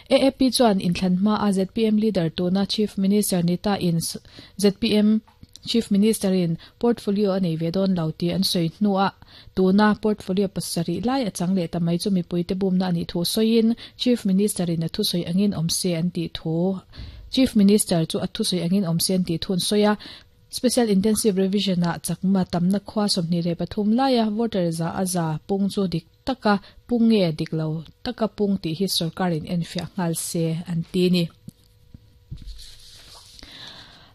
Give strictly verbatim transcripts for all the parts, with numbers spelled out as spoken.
A A P chuan inthlan hma a Z P M leader tuna Chief Minister nita in Z P M Chief Minister in portfolio anei ve don lo ti an soi hnuah tuna portfolio pasarih lai a chang leh ta mai chu mipui te bumna ani thu soin Chief Minister in a thu soi angin awm se an ti thu Chief Minister chu a thu soi angin awm se an ti thun soia Special Intensive Revision a chakma tamna khwa somni le pathum laia voter za aza pung chu dik taka punge diklo taka pung ti hi sarkarin enfia ngal se an ti ni.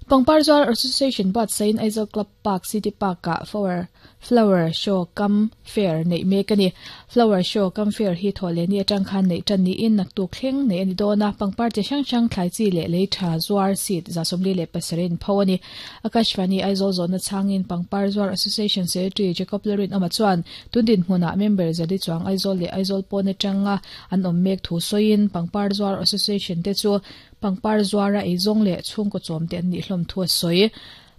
Pangpar Zuar Association bat sain Aizawl Club Park City Park a flower flower show kam fair nei mek ani. Flower show kam fair hi thole ni atang khan nei tan ni in nak tuk thleng nei ani dona pangpar che hrang hrang thlai chi le lei tha zuar seat za somli le pasarin phawani. Akashvani Aizawl zona changin Pangpar Zuar Association Secretary Jacob Lerin ama chuan tundin hmuna member zali chuang Aizawl le Aizawl pawna tanga an awm mek thu soin Pangpar Zuar Association te chu Pangpar Zuara eizawng le chhungkaw chawm te an nih hlawm thu a sawi.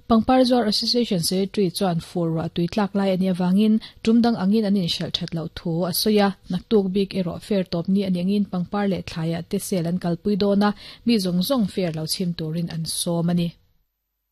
Pangpar Zuar Association Secretary chuan fur wa tuitlak lai ani awangin tumdang angin an inhralh that lo thu a sawi a naktuk bik erawh fair tawp ni ani angin pangpar leh thlaiah te sel an kalpui dawn a mi zawng zawng fair lo chhim turin an sawm ani.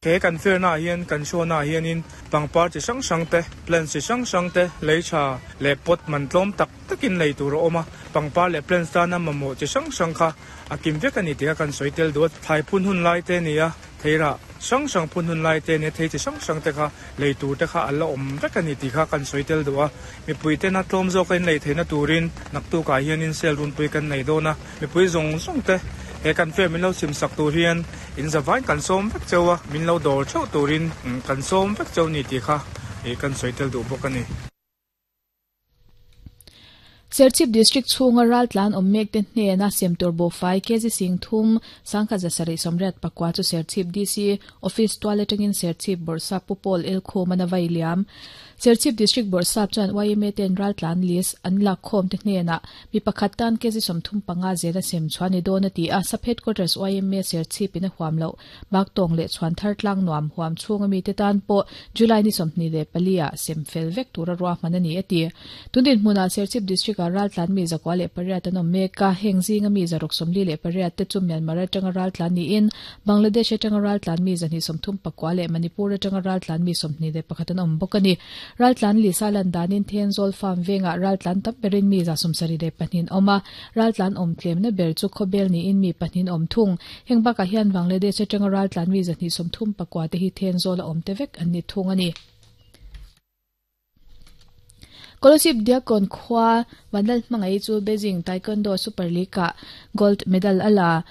He kan fair na hian kan show na hianin pangpar chi hrang hrang te plants chi hrang hrang te lei tha leh pot man tlawm tak takin lei tur a awm a pangpar leh plants tana mamawh chi hrang hrang kha a kim vek ani tih kha kan sawi tel duh a thlai phun hun lai te ni a theirah hrang hrang phun hun lai te ni thei chi hrang hrang te kha lei tur te kha a la awm vek ani tih kha kan sawi tel duh a mipui te na tlawm zawk a in lei theihna turin naktukah hianin sel runpui kan nei dawn a mipui zawng zawng te he kan fair min lo chim sak tur hian in zavain kan sawm vek cheu a min lo dawr theuh turin kan sawm vek cheu ni tih kha kan sawi tel duh bawk ani. Serchhip District chhunga raltlan awm mek te hnena semtur bo fai kg sing thum sangkha zasarih somriat pakwa chu Serchhip D C Office tual atangin Serchhip Bawrhsap Pupol El Khum ana vai liam. Serchhip District Bawrhsap chuan Y M A ten raltlan list an lak khawm te hnena mi pakhat tan kg sawmthum panga zela sem chuan ni dawn a ti a sub headquarters Y M A Serchhip in a huam lo bak tawng leh chuan thar tlang nuam huam chhunga mi te tan pawh July ni sawmhni leh palia sem fel vek tura ruahman ani a ti. Tundin hmunah Serchhip District a raltlan mi zakwa leh pariat an awm mek a heng zinga mi zaruk sawmli leh pariat te chu Myanmar atanga raltlan niin Bangladesh atanga raltlan mi zahnih sawmthum pakua leh Manipur atanga raltlan mi sawmhnih leh pakhat an awm bawk ani. Raltlan lisa lan danin Thenzawl farm venga raltlan tam berin mi za sawmsarih leh pahnih awm a raltlan awm tlemna ber chu khawbel niin mi pahnih awm thung heng bakah hian Bangladesh atanga raltlan mi zahnih sawmthum pakua te hi Thenzawl a awm te vek an ni thung ani. Kolasib Diakon khwa Vanlal hmangai chu Beijing Taekwondo Super League ah gold medal ala.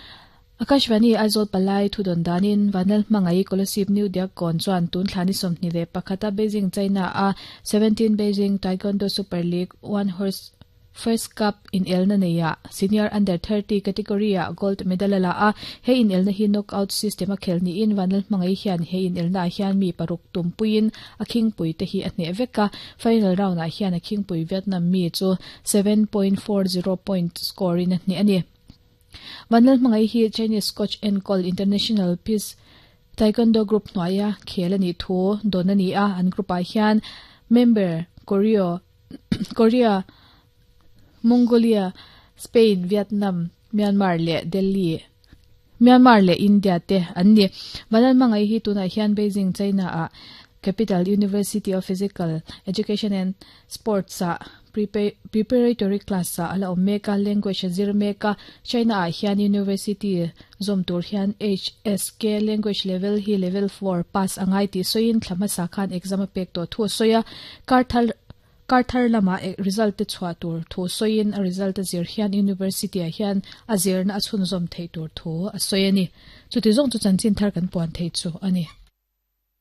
Akashvani Aizawl Palai thudon danin Vanlal hmangai Kolasib New Diakon chuan tun thlani sawmhnih leh pakhata Beijing China a seventeen Beijing Taekwondo Super League one horse First Cup in elna neia senior under thirty category a gold medal ala a he in elna hi knockout system a khelni in Vanlal hmangai hian he in elna hian mi paruk tumpuin a khingpui te hi a hne veka final round ah hian a khingpui Vietnam mi chu seven point four zero point score in a hne ani. Vanlal hmangai hi Chinese coach Encol International Peace Taekwondo Group hnuaia khel ani thu don ani a an group ah hian member Korea Korea Mongolia, Spain, Vietnam, Myanmar le Delhi, Myanmar le India te an ni. Vanlal hmangai hi tunah hian Beijing China a Capital University of Physical Education and Sports a preparatory class a ala awm mek a language a zir mek a China ah hian University zawm tur hian H S K language level hi level four pass angai tih sawiin thla hmasa khan exam a pek tawh thu a sawi a karthal karthar lama result te chhuah tur thu sawiin a result a zir hian university ah hian a zirna a chhun zawm thei tur thu a sawi ani. Chuti zawng chu chanchin thar kan puan thei chu ani.